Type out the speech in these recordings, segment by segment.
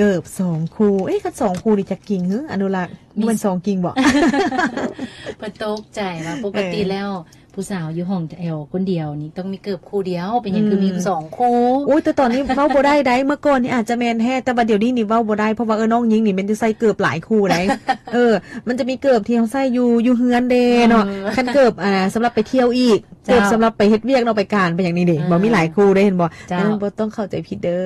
ເກີບສອງຄູ່. ເອີ ຄັນສອງຄູ່ນີ້ຈັກກິ່ງຫື ອະນຸລັກ? ມີ ບໍ່ແມ່ນສອງກິ່ງບໍ? ເພິ່ນຕົກໃຈວ່າປົກກະຕິ ເອີ ແລ້ວ ຜູ້ສາວຢູ່ຫ້ອງແຖວຄົນດຽວນີ້ຕ້ອງມີເກີບຄູ່ດຽວ ເປັນຫຍັງຄືມີ ອືມ ສອງຄູ່? ໂອ້ຍ ແຕ່ຕອນນີ້ເວົ້າບໍ່ໄດ້ໃດ໋ ເມື່ອກ່ອນນີ້ອາດຈະແມ່ນແທ້ ແຕ່ວ່າດຽວນີ້ນີ້ເວົ້າບໍ່ໄດ້ ເພາະວ່າ ເອີ ນ້ອງຍິງນີ້ແມ່ນຈະໃສ່ເກີບຫຼາຍຄູ່ໃດ໋. ເອີ ມັນຈະມີເກີບທີ່ເຮົາໃສ່ຢູ່ ຢູ່ເຮືອນເດ້ເນາະ ເອີ ຄັນເກີບ ອ່າ ສຳລັບໄປທ່ຽວອີກ ເຈົ້າ ເກີບສຳລັບໄປເຮັດວຽກເນາະ ໄປການໄປຫຍັງນີ້ເດ້ ອ່າ ບໍ່ມີຫຼາຍຄູ່ເດ້ ເຫັນບໍ່? ເຈົ້າ ເອີ ບໍ່ຕ້ອງເຂົ້າໃຈຜິດເດີ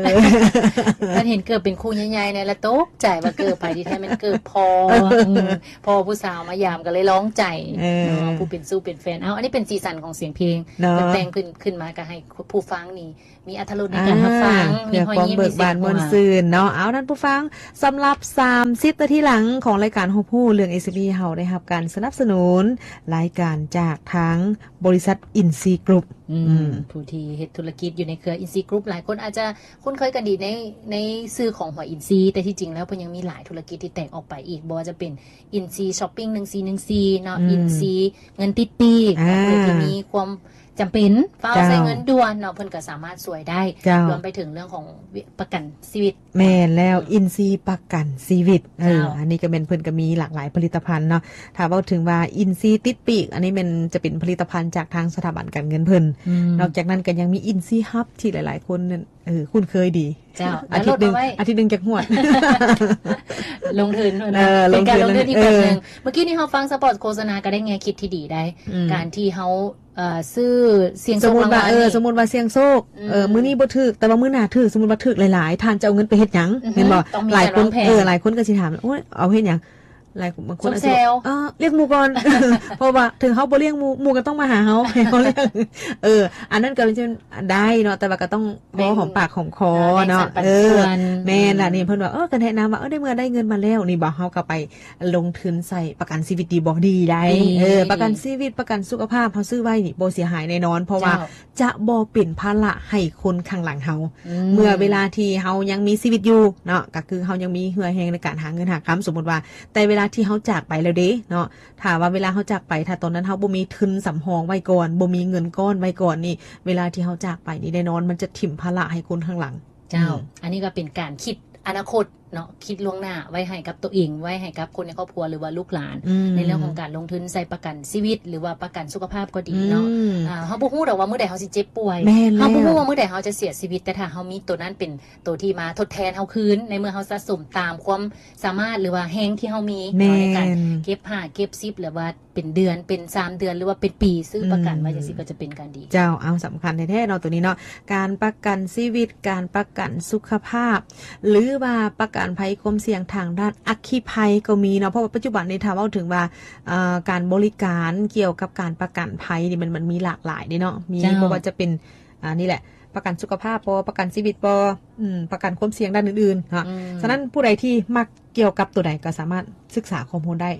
ຄັນເຫັນເກີບເປັນຄູ່ໃຫຍ່ໆ ແນ່ລະຕົກໃຈວ່າເກີບໃຜ ທີ່ແທ້ແມ່ນເກີບພໍ່ ເອີ ອືມ ພໍ່ຜູ້ສາວມາຢາມກໍເລີຍລອງໃຈ ເອີ ເນາະ ຜູ້ເປັນຊູ້ເປັນແຟນ. ເອົາ ອັນນີ້ເປັນສີສັນຂອງສຽງເພງ ເນາະ ເພິ່ນແຕ່ງຂຶ້ນ ຂຶ້ນມາກໍໃຫ້ຜູ້ຟັງນີ້ມີອາດຕະລົດໃນການຮັບຟັງ ອ່າ ມີຮອຍຍິ້ມ ມີສຽງຫົວ ເພື່ອຄວາມເບີກບານມ່ວນຊື່ນເນາະ. ເອົາ ທ່ານຜູ້ຟັງ ສຳລັບສາມສິບນາທີຫຼັງຂອງລາຍການຮູ້ເລື່ອງ ເອັສເອັມອີ ເຮົາໄດ້ຮັບການສະໜັບສະໜູນລາຍການຈາກທາງບໍລິສັດອິນຊີກຣຸບ ອືມ ອືມ ຜູ້ທີ່ເຮັດທຸລະກິດຢູ່ໃນເຄືອອິນຊີກຣຸບ ຫຼາຍຄົນອາດຈະຄຸ້ນເຄີຍກັນດີໃນ ໃນຊື່ຂອງຫົວອິນຊີ ແຕ່ທີ່ຈິງແລ້ວເພິ່ນຍັງມີຫຼາຍທຸລະກິດທີ່ແຕກອອກໄປອີກ ບໍ່ວ່າຈະເປັນອິນຊີຊັອບປິງ ໜຶ່ງສີ່ໜຶ່ງສີ່ເນາະ ອືມ ອິນຊີເງິນຕິດປີກ ອ່າ ຜູ້ໃດທີ່ມີຄວາມ ຈຳເປັນ ຟ້າວ ເຈົ້າ ໃຊ້ເງິນດ່ວນເນາະ ເພິ່ນກໍສາມາດຊ່ວຍໄດ້ ເຈົ້າ ລວມໄປເຖິງເລື່ອງຂອງປະກັນຊີວິດ. ແມ່ນແລ້ວ ອືມ ອິນຊີປະກັນຊີວິດ ເອີ ເຈົ້າ ອັນນີ້ກໍແມ່ນເພິ່ນກໍມີຫຼາກຫຼາຍຜະລິດຕະພັນເນາະ. ຖ້າເວົ້າເຖິງວ່າອິນຊີຕິດປີກ ອັນນີ້ແມ່ນຈະເປັນຜະລິດຕະພັນຈາກທາງສະຖາບັນການເງິນເພິ່ນ ອືມ ນອກຈາກນັ້ນກໍຍັງມີອິນຊີຮັບ ທີ່ຫຼາຍໆຄົນນັ້ນ ເອີ ຄຸ້ນເຄີຍດີ ເຈົ້າ ອາທິດໜຶ່ງ ອາທິດໜຶ່ງຈັກງວດ ລົງທຶນ ເອີ ເປັນການລົງທຶນ ລົງທຶນອີກແບບໜຶ່ງ ເອີ ເມື່ອກີ້ນີ້ເຮົາຟັງສະປອດໂຄສະນາກໍໄດ້ແງ່ຄິດທີ່ດີໄດ໋ ອືມ ການທີ່ເຮົາ ເອີ ຊື້ສ່ຽງໂຊກລາງວັນ ເອີ ສົມມຸດວ່າສ່ຽງໂຊກ ອືມ ເອີ ມື້ນີ້ບໍ່ຖືກ ແຕ່ວ່າມື້ໜ້າຖືກ ສົມມຸດວ່າຖືກຫຼາຍໆ ທ່ານຈະເອົາເງິນໄປເຮັດຫຍັງ? ອືຮຶ ແມ່ນບໍ່? ຕ້ອງມີ ຫຼາຍຄົນ ການວາງແຜນ ເອີ ຫຼາຍຄົນກໍຊິຖາມ ໂອ້ຍ ເອົາເຮັດຫຍັງ? ຫຼາຍຄົນ ບາງຄົນອາດຈະ ເອີ ລ້ຽງໝູ່ກ່ອນ ເພາະວ່າເຖິງເຮົາບໍ່ລ້ຽງໝູ່ ໝູ່ກໍຕ້ອງມາຫາເຮົາ ໃຫ້ເຮົາລ້ຽງ ເອີ ອັນນັ້ນກໍຈະໄດ້ເນາະ ແຕ່ວ່າກໍຕ້ອງ ພໍຫອມປາກຫອມຄໍເນາະ ເອີ ແມ່ນລະ ນີ້ເພິ່ນວ່າ ເອີ ກໍແນະນຳວ່າ ເອີ ໃນເມື່ອໄດ້ເງິນມາແລ້ວນີ້ບໍ່ ເຮົາກໍໄປລົງທຶນໃສ່ປະກັນຊີວິດດີບໍ່? ດີໄດ໋ ເອີ ປະກັນຊີວິດ ປະກັນສຸຂະພາບ ເຮົາຊື້ໄວ້ນີ້ບໍ່ເສຍຫາຍແນ່ນອນ ເພາະວ່າ ເຈົ້າ ຈະບໍ່ເປັນພາລະໃຫ້ຄົນຂ້າງຫຼັງເຮົາ ອືມ ເມື່ອເວລາທີ່ເຮົາຍັງມີຊີວິດຢູ່ເນາະ ກໍຄືເຮົາຍັງມີເຫື່ອແຮງໃນການຫາເງິນຫາຄຳ ສົມມຸດວ່າ ແຕ່ເວລາທີ່ເຮົາຈາກໄປແລ້ວເດເນາະ ຖ້າວ່າເວລາເຮົາຈາກໄປ ຖ້າຕອນນັ້ນເຮົາບໍ່ມີທຶນສຳຮອງໄວ້ກ່ອນ ບໍ່ມີເງິນກ້ອນໄວ້ກ່ອນນີ້ ເວລາທີ່ເຮົາຈາກໄປນີ້ ແນ່ນອນມັນຈະຖິ້ມພາລະໃຫ້ຄົນຂ້າງຫຼັງ. ເຈົ້າ ອືມ ອັນນີ້ກໍເປັນການຄິດອະນາຄົດເນາະ ຄິດລ່ວງໜ້າໄວ້ໃຫ້ກັບຕົວເອງ ໄວ້ໃຫ້ກັບຄົນໃນຄອບຄົວ ຫຼືວ່າລູກຫຼານ ອືມ ໃນເລື່ອງຂອງການລົງທຶນໃສ່ປະກັນຊີວິດ ຫຼືວ່າປະກັນສຸຂະພາບກໍດີເນາະ ອືມ ອ່າ ເຮົາບໍ່ຮູ້ດອກວ່າມື້ໃດເຮົາຊິເຈັບປ່ວຍ ແມ່ນແລ້ວ ເຮົາບໍ່ຮູ້ວ່າມື້ໃດເຮົາຈະເສຍຊີວິດ ແຕ່ຖ້າເຮົາມີໂຕນັ້ນເປັນໂຕທີ່ມາທົດແທນເຮົາຄືນ ໃນເມື່ອເຮົາສະສົມຕາມຄວາມ ສາມາດ ຫຼືວ່າແຮງທີ່ເຮົາມີ ແມ່ນ ເນາະ ໃນການເກັບຫ້າເກັບສິບ ຫຼືວ່າເປັນເດືອນ ເປັນສາມເດືອນ ຫຼືວ່າເປັນປີ ຊື້ປະກັນໄວ້ ອືມ ຈັ່ງຊີ້ກໍຈະເປັນການດີ. ເຈົ້າ ເອົາ ສຳຄັນແທ້ໆເນາະ ໂຕນີ້ເນາະ ການປະກັນຊີວິດ ການປະກັນສຸຂະພາບ ຫຼືວ່າປະກັນໄພຄວາມສ່ຽງທາງດ້ານອັກຄີໄພກໍມີເນາະ ເພາະວ່າປັດຈຸບັນນີ້ ຖ້າເວົ້າເຖິງວ່າ ເອີ ການບໍລິການກ່ຽວກັບການປະກັນໄພນີ້ ມັນ ມັນມີຫຼາກຫຼາຍເດ້ເນາະ ມີ ເຈົ້າ ບໍ່ວ່າຈະເປັນ ອ່າ ນີ້ແຫຼະ ປະກັນສຸຂະພາບບໍ ປະກັນຊີວິດບໍ ອືມ ປະກັນຄວາມສ່ຽງດ້ານອື່ນໆເນາະ ອືມ ສະນັ້ນຜູ້ໃດທີ່ມັກກ່ຽວກັບໂຕໃດກໍສາມາດສຶກສາຂໍ້ມູນໄດ້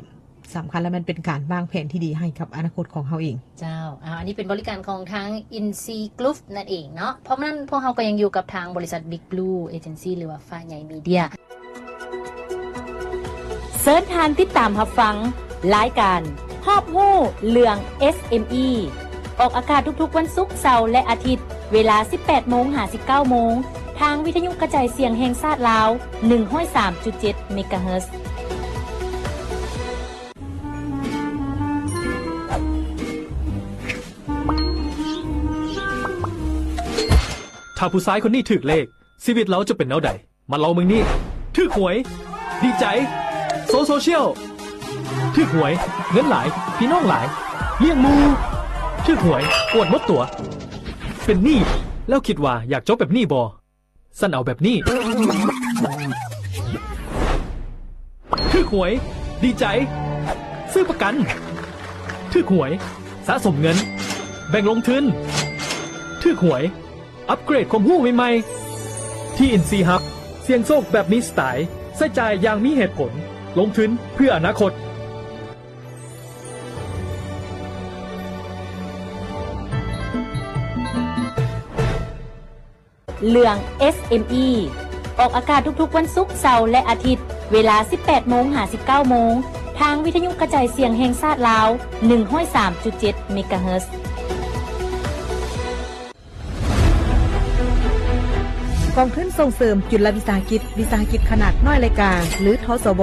ສຳຄັນແລ້ວແມ່ນເປັນການວາງແຜນທີ່ດີໃຫ້ກັບອະນາຄົດຂອງເຮົາເອງ. ເຈົ້າ ອ່າ ອັນນີ້ເປັນບໍລິການຂອງທາງ Insigroup ນັ້ນເອງເນາະ ພ້ອມນັ້ນພວກເຮົາກໍຍັງຢູ່ກັບທາງບໍລິສັດ Big Blue Agency ຫຼືວ່າ ຟ້າໃຫຍ່ Media ເຊີນທ່ານຕິດຕາມຮັບຟັງລາຍການຮອບຮູ້ເລື່ອງ ເອັສເອັມອີ ອອກອາກາດທຸກໆວັນສຸກ, ເສົາ ແລະ ອາທິດ ເວລາ ສິບແປດໂມງ ຫາ ສິບເກົ້າໂມງ ທາງວິທະຍຸກະຈາຍສຽງແຫ່ງຊາດລາວ ໜຶ່ງຮ້ອຍສາມຈຸດເຈັດ ເມກາເຮີດ. ຖ້າຜູ້ຊາຍຄົນນີ້ຖືກເລກ, ຊີວິດລາວຈະເປັນແນວໃດ? ມາລອງເບິ່ງນີ້ ຖືກຫວຍ ດີໃຈ ໂຊໂຊຊຽວ ຖືກຫວຍ ເງິນຫຼາຍ ພີ່ນ້ອງຫຼາຍ ລ້ຽງໝູ່ ຖືກຫວຍ ອວດໝົດຕົວ ເປັນໜີ້ ແລ້ວຄິດວ່າຢາກຈົບແບບນີ້ບໍ່? ຊັ້ນເອົາແບບນີ້ ຖືກຫວຍ ດີໃຈ ຊື້ປະກັນ ຖືກຫວຍ ສະສົມເງິນ ແບ່ງລົງທຶນ ຖືກຫວຍ ອັບເກຣດຄວາມຮູ້ໃໝ່ໆ ທີ່ Insigroup ສ່ຽງໂຊກແບບມີສະໄຕ, ໃຊ້ຈ່າຍຢ່າງມີເຫດຜົນ, ລົງທຶນເພື່ອອະນາຄົດ. ເລື່ອງ ເອັສເອັມອີ ອອກອາກາດທຸກໆວັນສຸກ, ເສົາ ແລະ ອາທິດ ເວລາ ສິບແປດໂມງ ຫາ ສິບເກົ້າໂມງ ທາງວິທະຍຸກະຈາຍສຽງແຫ່ງຊາດລາວ ໜຶ່ງຮ້ອຍສາມຈຸດເຈັດ ເມກາເຮີດ. ກອງທຶນສົ່ງເສີມຈຸລະວິສາຫະກິດ ວິສາຫະກິດຂະໜາດນ້ອຍ ແລະ ກາງ ຫຼື ທສວ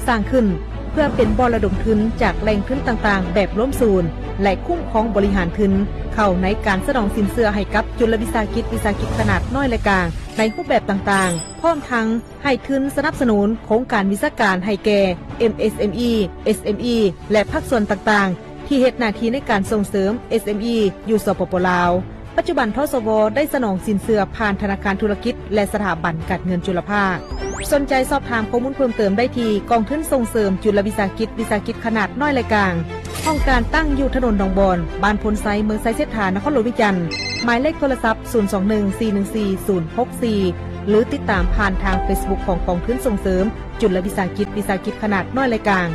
ສ້າງຂຶ້ນເພື່ອເປັນບ່ອນລະດົມທຶນຈາກແຫຼ່ງທຶນຕ່າງໆແບບລວມສູນ ແລະ ຄຸ້ມຄອງບໍລິຫານທຶນ ເຂົ້າໃນການສະໜອງສິນເຊື່ອໃຫ້ກັບຈຸລະວິສາຫະກິດ ວິສາຫະກິດຂະໜາດນ້ອຍ ແລະ ກາງ ໃນຮູບແບບຕ່າງໆ ພ້ອມທັງໃຫ້ທຶນສະໜັບສະໜູນໂຄງການວິຊາການໃຫ້ແກ່ ເອັມເອສເອັມອີ ເອສເອັມອີ ແລະ ພາກສ່ວນຕ່າງໆ ທີ່ເຮັດໜ້າທີ່ໃນການສົ່ງເສີມ ເອສເອັມອີ ຢູ່ ສປປ ລາວ. ປັດຈຸບັນ ທສວ ໄດ້ສະໜອງສິນເຊື່ອຜ່ານທະນາຄານທຸລະກິດ ແລະ ສະຖາບັນການເງິນຈຸລະພາກ. ສົນໃຈສອບຖາມຂໍ້ມູນເພີ່ມເຕີມໄດ້ທີ່ ກອງທຶນສົ່ງເສີມຈຸລະວິສາຫະກິດ ວິສາຫະກິດຂະໜາດນ້ອຍ ແລະ ກາງ. ຫ້ອງການຕັ້ງຢູ່ຖະໜົນໜອງບອນ, ບ້ານໂພນໄຊ, ເມືອງໄຊເສດຖາ, ນະຄອນຫຼວງວຽງຈັນ. ໝາຍເລກໂທລະສັບ ສູນສອງໜຶ່ງ ສີ່ໜຶ່ງສີ່ ສູນຫົກສີ່ ຫຼື ຕິດຕາມຜ່ານທາງເຟສບຸກຂອງກອງທຶນສົ່ງເສີມຈຸລະວິສາຫະກິດ ວິສາຫະກິດຂະໜາດນ້ອຍ ແລະ ກາງ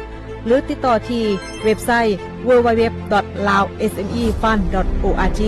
ຫຼື ຕິດຕໍ່ທີ່ເວັບໄຊ www.laosmefund.org.